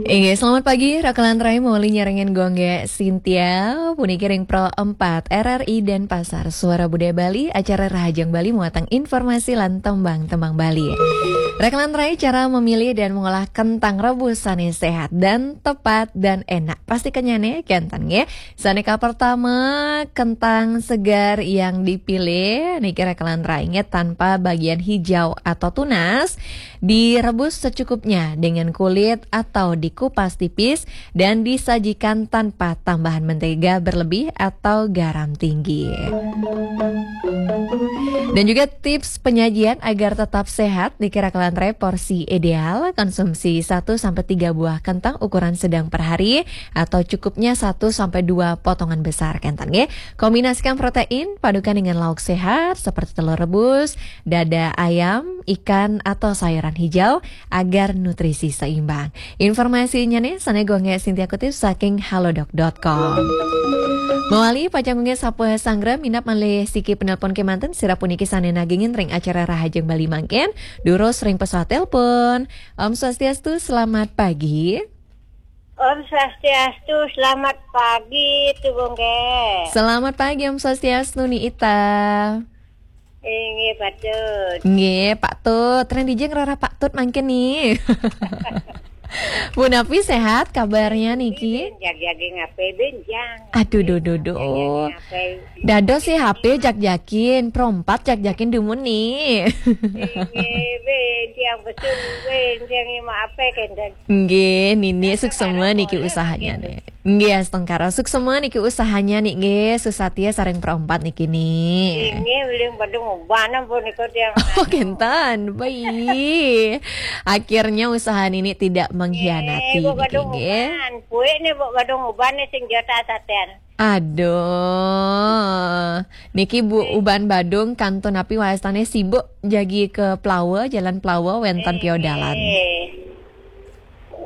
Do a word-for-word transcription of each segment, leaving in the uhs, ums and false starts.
Inggih, selamat pagi, Raka lan Rai, mawali nyarengin Gung Gé Sintia, puniki ring Pro empat R R I Denpasar, Suara Budaya Bali, acara Rahajeng Bali, muatang informasi lan tembang-tembang Bali. Raka lan Rai, cara memilih dan mengolah kentang rebus sané sehat dan tepat dan enak. Pasti kenyane, kénten nggih. Sané kapertama, kentang segar yang dipilih, niki Raka lan Rai nggih, tanpa bagian hijau atau tunas. Direbus secukupnya dengan kulit atau dikupas tipis dan disajikan tanpa tambahan mentega berlebih atau garam tinggi. Dan juga tips penyajian agar tetap sehat, niki Raka lan Rai, porsi ideal konsumsi satu sampai tiga buah kentang ukuran sedang per hari atau cukupnya satu sampai dua potongan besar, kénten nggih. Kombinasikan protein, padukan dengan lauk sehat seperti telur rebus, dada ayam, ikan, atau sayuran hijau agar nutrisi seimbang. Informasinya nih, sané Gung Gé Sintia kutip saking halodoc dot com. Mawali pacang Gung Gé sapuh sanggra minab malih siki penelpon kémanten, sira puniki sané nagingin ring acara Rahajeng Bali mangkin, durus ring pesawat telepon. Om Swastiastu, selamat pagi. Om Swastiastu, selamat pagi, Tu Gung Gé. Selamat pagi, Om Swastiastu, Ni Ita. Inggih, patut. Nggih, Pak Tut. Ring dija ngrereh Pak Tut mangkin, Ni? Punapi, sehat kabarnya niki? Jagjagin H P bénjang. Aduh, duh, duh, duh. Jagjagin H P. Dados sih H P jagjagin, Pro empat jagjagin dumun, Ni. Inggih, bénjang besul, bénjang, maaf, kénten. Nggih, Nini, suksma niki usahanya, Ni. Nggih, astungkara, suksma niki usahanya, Ni, nggih, susatya sareng Pro empat niki, Ni. Inggih, uling badung uban ampun niku tiang. Oh, kénten. Baik. Akhirnya usaha Nini tidak mengkhianati niki, nggih. Nggih, Bu, badung uban. Puik nih, Bu, badung uban nih sing jota saten. Aduh. Niki, Bu, uban badung kantun napi wastané, sibuk jagi ke Plawa, Jalan Plawa, wénten piodalan. Nggih.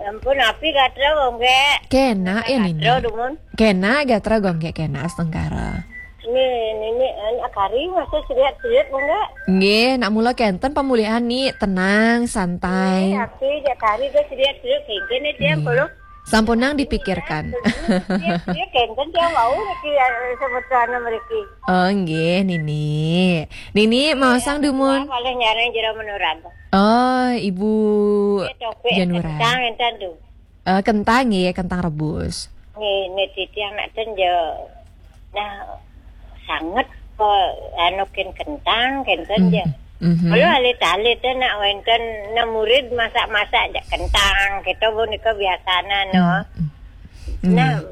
Ampun, napi gatra, Gung Gé? Kénak ya, Nini? Gatra, dumun. Kénak gatra, Gung Gé, kénak astungkara. Nini, Nini, anak kari masih seriat-seriat, Gung Gé? Nggih, nak mula kénten pemulihan, Ni, tenang, santai. Nggih, napi jak kari gé seriat-seriat, kéngkén, Ni, tiang. Nggih. Sampunang dipikirkan. Nggih, nggih, kénten tiang wau niki, ya, semeton mriki. Oh, nggih, Nini. Nini, maosang dumun. Malih nyareng jero menuran. Oh, Ibu Nggih, topik Janura. Kentang enten tu. Eh, kentang nggih, kentang rebus. Nggih, niki tiang nak ten je. Nah, sanget kok anu kin kentang, kénten je. Mhm. Kalau alit-alit tu nak wénten, nak murid masak-masak je kentang, kita pun nika biasana, no. Mhm. Nah,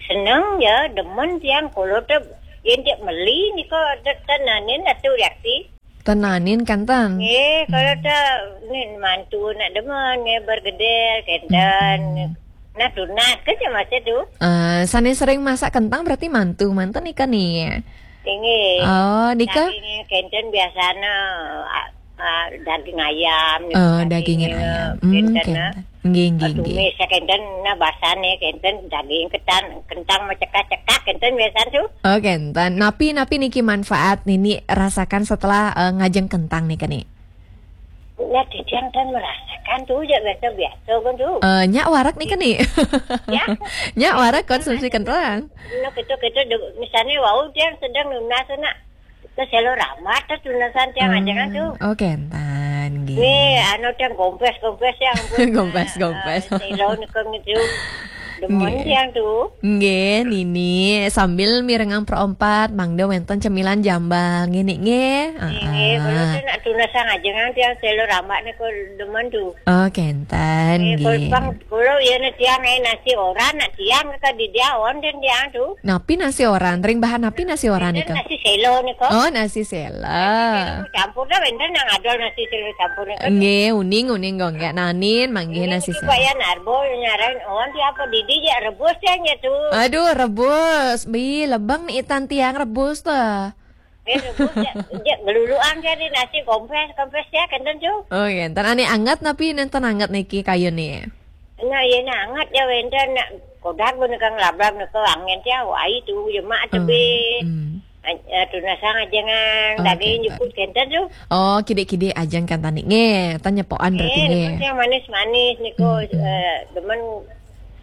seneng ya, demen tiang kalau tu, yen cek meli nika tenanin Datu Yakti. Tenanin kenten. Nggih, kalau tak ni mantu nak demen, nggih, bergedel, kenten. Hmm. Nah, tunas ke je masa tu. Eh, sané sering masak kentang berarti mantu, manten nika, Ni? Inggih. Oh, nika? Daging kenten biasana, ah, ah, daging ayam, oh, daging, daging ayam. Hmm, kenten, kenten. Ah. Nggih, nggih, nggih. Tumis ya kenten, nah, basane kenten, daging ketan, kentang macekak-cekak kenten biasa tu. Oh, kenten. Napi, napi niki manfaat Nini rasakan setelah, eh, ngajeng kentang nika, Ni? Nah, titiang kan merasakan tu je biasa-biasa kan tu. Eh, nyak warak nika, Ni? Ya. Nyak warak konsumsi kentang. Nah, kita, kita de-, misalnya wau tiang sedang nunas nak. Ke selo ramat tu tunasan tiang aja kan tu. Oh, kenten, nggih. Nggih, anu tiang gompes-gompes ya ampun. Gompes-gompes. Ah, selo nika ngitu. Demen tiang tu. Nggih, Nini, sambil mirengang Pro empat, mangda wénten cemilan jambal. Nggih, Ni, nggih. Nggih, nggih, ah, kalau tu nak tunasan aja kan tiang selo ramat nika demen tu. Oh, kenten, nggih, nggih. Kalau pang, kalau ya nak tiang, eh, nasi oran, nak tiang ke di dia, on dan tiang tu. Napi nasi oran? Ring bahan napi nasi oran nika? Nasi selo nika. Oh, nasi sela. Nasi selo campur dah, wénten yang ada nasi selo campur nika. Nggih, uning, uning, Gung Gé. Nanin, manggih nasi selo. Supaya narbo, nyaran, on, tiang apa didi ya rebus tiang ya tu. Aduh, rebus. Bi, lebeng Ni Ita tiang rebus tuh. Eh, rebus ya, ya, geluluan ya di nasi gompes, gompes ya, kenten tu. Oh, iya. Ntar ane anget, napi nenten anget niki kayune? Nah, iya, nah, anget ya, wénten nak kodak pun kang lablab nika angin ya, wai tu, ya, mak tebih. Hmm. Aj- eh, tunasang ajengan, oh, daging kenten. Nyukut kenten tu. Oh, kidik-kidik ajang kan tani. Nggih, tan nyepokan berarti. Eh, nggih. Demen yang manis-manis niko, hmm, hmm, eh, demen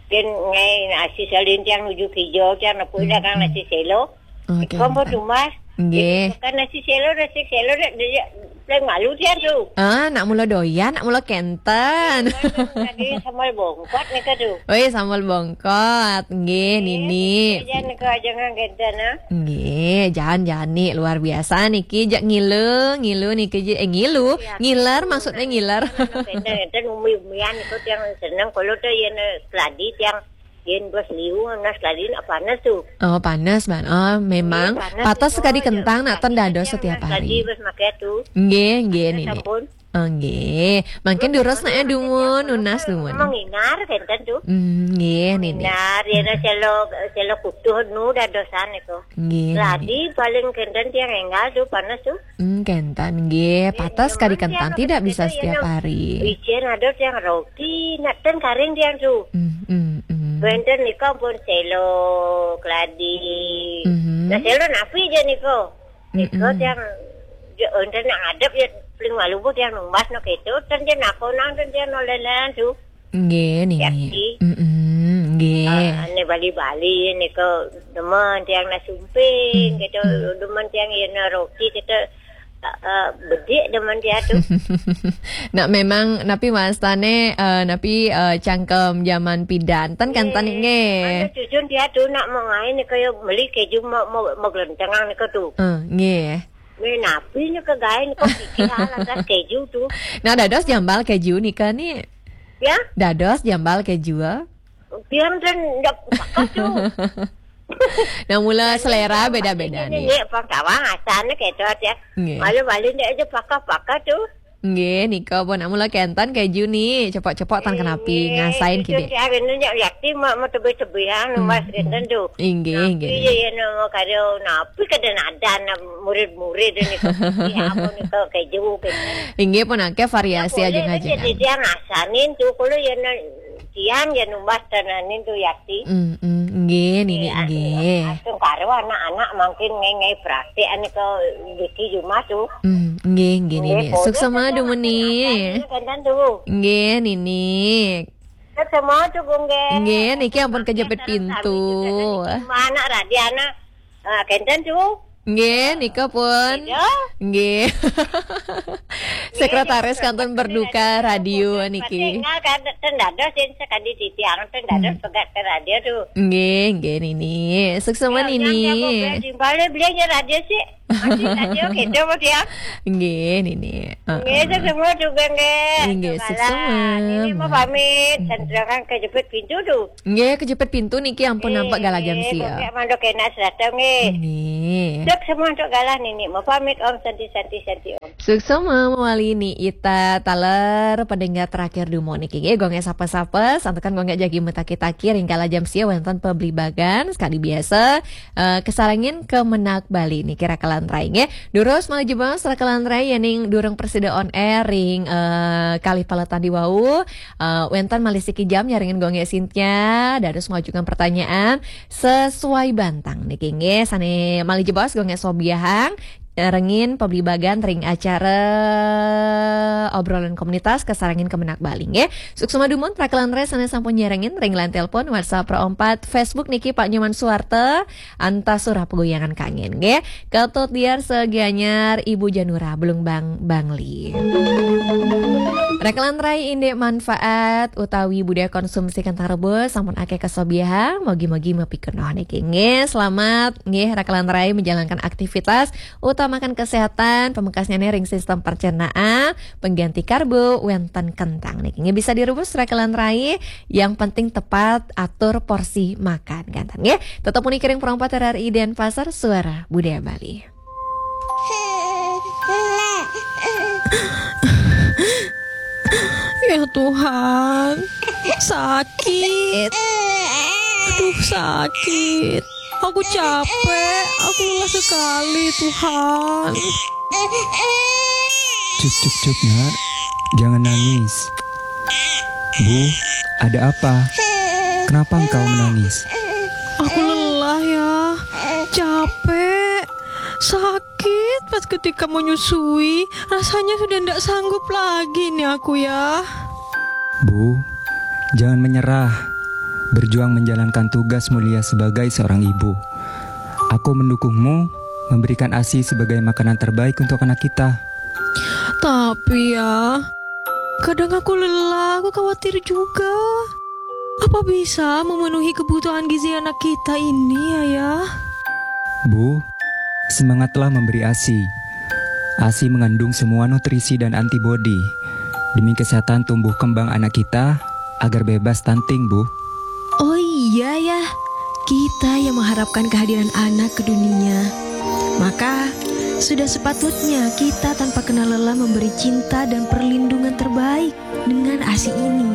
ken ngai nasi selin tiang nuju kijo tiang nepuk, hmm, dagang, hmm, nasi selo. Oh, niko, kenten. Nggih. Kan nasi selo, nasi selo dah, dah, dah, paling malu tiang tu. Ah, nak mula doyan, nak mula kenten. Lagi sambal bongkot niko tu. Oh, iya, sambal bongkot. Nggih, eh, Nini. Jangan kau jangan kenten, ah. Nggih, jangan-jangan ni luar biasa niki, jak ngilu, ngilu niki je, eh, ngilu, ya, ngiler, maksudnya ngiler. Kenten, kenten umi-umian niko tiang seneng kalau tu yang keladi tiang yen bos liu, nah keladi nak panas tu. Oh, panas, Ban. Oh, memang. Nggih, panas patas tu, sekali ya, kentang nak keladi ten dados tiang setiap hari. Keladi bos makai tu. Nggih, nggih, panas Nini. Sampun. Oh, nggih. Mangkin durus nak ya dumun, nunas dumun. Menginar kenten tu. Hmm, nggih, Nini. Nginar, ya, nah, selo, selo kutuh nu dadosan itu. Nggih, Nini. Keladi paling kenten tiang enggal tu, panas tu. Hmm, kenten, nggih. Patas sekali kentang, tidak bisa setiap hari. Ijen ada tiang roti, nak ten karing tiang tu. Hmm, hmm, hmm. Kenten niko pun selo, keladi. Mhm. Nah, selo napi je niko? Niko, mm-mm, tiang, je, enten nak ngadep ya, paling malu pun tiang numbas no keto, ten je nak konang, ten je no lelen tu. Nggih, Nini. Yakti. Mm-mm, nggih. Ah, ane Bali-Bali niko demen tiang nak sumping, hmm, keto demen tiang ya nak roti, keto, ah, ah, bedik demen tiang tu. Nak memang napi wastane, eh, napi, eh, cangkem zaman pidan. Ten kan, nggih, tani nggih. Ane cucun tiang tu nak mengai niko ya beli keju mau, mau, mau gelentengang niko tu. Eh, nggih. Meh napi niko gae niko pikir hal atas keju tu. Nah, dados jambal keju nika ni. Ya? Dados jambal keju. Tiang ten ndak pakat tu. Nah, mula selera beda-beda ni. Nek pang kawang asane keto aja. Nggih. Malu-malu ndak aja pakat-pakat tu. Nggih, nika pun nak mula kenten keju ni. Cepok-cepok tan kenapi, eh, ngasain itu kide. Tiang anu nyak yakti mau, mau tebih-tebihan, hmm, mas kenten tu. Inggih, napi inggih, ya, ya, nama kada, napi kada nadan, murid-murid ni. Ya, apa ni, ke keju, keju. Inggih pun akeh variasi aja ngajengan. Jadi tiang asanin tu, kalau ya na-, tiang ya numbas tananin tu yakti. Hmm, hmm, inggih, Nini, eh, inggih. Asung karo anak-anak mangkin ngai-ngai praktek ane ke biki jumah tu. Hmm, inggih, inggih, Nini. Inggih, suksema dumun ni. Asanin kenten tu. Inggih, Nini. Suksema tu, Gunggeng. Nggih, niki ampun kejepit pintu. Mana Radiana? Ah, kenten tu. Nggih, nika pun. Iya. Nggih. Sekretaris kanton berduka radio niki. Tinggal kan ten dados yen sekadi titiang ten dados, hmm, pegat ke radio tu. Nggih, nggih, Nini. Suksema, ya, Nini. Yang jago beli, beli, beli radio sih. Masih radio gitu, Mas, ya. Nggih, Nini. Heeh. Nggih, suksema juga, nggih. Nggih, suksema. Nini mau pamit, hmm, senterangan kejepit pintu tu. Nggih, kejepit pintu niki ampun nampak galah jam sia. Nggih, kok mandok enak serata, nggih. Nggih. Suksema untuk galah Nini. Mau pamit, Om, santi, santi, santi, Om. Suksema mawali Ni Ita taler pendengar terakhir dumo niki. Nggih, gongek sapa-sapa, santukan gongek jagi metaki-taki ring galah jam sia wonten pebli bagan sekadi biasa. Eh, kesarengin kemenak Bali niki Raka lan Rai nggih. Durus malih jebos Raka lan Rai yening durung prasida on air ring, eh, kalih paletan di wau. Eh, wenten malih siki jam nyarengin Gung Gek Sintia, dados majukan pertanyaan sesuai bantang niki nggih. Sane malih jebos Gung Gek Sobiahang nyarengin pebli bagan ring acara obrolan komunitas kesarengin kemenak Bali nggih. Suksema dumun Raka lan Rai sane sampun nyarengin ring line telepon, WhatsApp, Pro empat, Facebook niki Pak Nyoman Suwarta. Antas surah pegoyangan kangen nggih. Ketut Diar Segianyar, Ibu Janura Belung Bang Bangli. Raka lan Rai indik manfaat utawi budaya konsumsi kentang rebus sampun akeh kasobiahang, mogi-mogi mapikenoh niki nggih. Selamat nggih Raka lan Rai menjalankan aktivitas, utamakan kesehatan, pamekasnyane ring sistem pencernaan, pengganti karbo wenten kentang niki nggih. Bisa direbus Raka lan Rai, yang penting tepat atur porsi makan, kenten nggih. Tetep muni ring Pro empat R R I Denpasar, Suara Budaya Bali. Ya Tuhan, sakit. Aduh, sakit. Aku capek, aku lelah sekali, Tuhan. Cuk, cuk, cuk, Nak. Jangan nangis. Bu, ada apa? Kenapa engkau menangis? Aku lelah, ya. Capek. Sakit pas ketika menyusui, rasanya sudah ndak sanggup lagi nih aku ya. Bu, jangan menyerah. Berjuang menjalankan tugas mulia sebagai seorang ibu. Aku mendukungmu memberikan ASI sebagai makanan terbaik untuk anak kita. Tapi ya, kadang aku lelah, aku khawatir juga. Apa bisa memenuhi kebutuhan gizi anak kita ini, Ayah? Bu, semangatlah memberi ASI. ASI mengandung semua nutrisi dan antibodi demi kesehatan tumbuh kembang anak kita agar bebas stunting, Bu. Oh iya ya, kita yang mengharapkan kehadiran anak ke dunia. Maka, sudah sepatutnya kita tanpa kenal lelah memberi cinta dan perlindungan terbaik dengan ASI ini.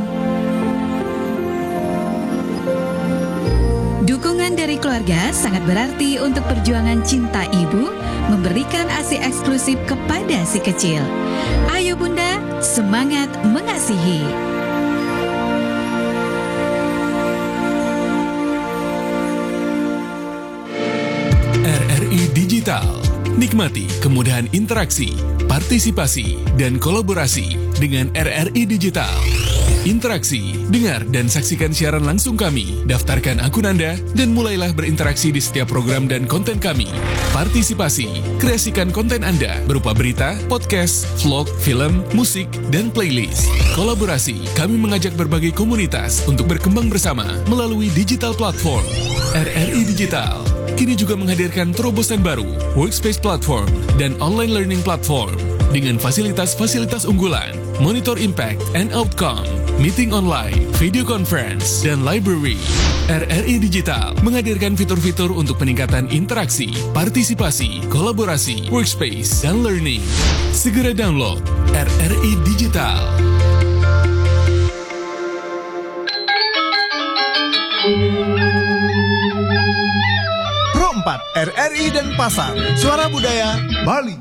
Dukungan dari keluarga sangat berarti untuk perjuangan cinta ibu memberikan ASI eksklusif kepada si kecil. Ayo Bunda, semangat mengasihi. RRI Digital. Nikmati kemudahan interaksi, partisipasi, dan kolaborasi dengan RRI Digital. Interaksi, dengar dan saksikan siaran langsung kami. Daftarkan akun Anda dan mulailah berinteraksi di setiap program dan konten kami. Partisipasi, kreasikan konten Anda berupa berita, podcast, vlog, film, musik, dan playlist. Kolaborasi, kami mengajak berbagai komunitas untuk berkembang bersama melalui digital platform. RRI Digital kini juga menghadirkan terobosan baru, Workspace Platform dan Online Learning Platform dengan fasilitas-fasilitas unggulan, monitor impact and outcome, meeting online, video conference, dan library. RRI Digital menghadirkan fitur-fitur untuk peningkatan interaksi, partisipasi, kolaborasi, workspace, dan learning. Segera download RRI Digital. Pro empat, RRI Denpasar, Suara Budaya Bali.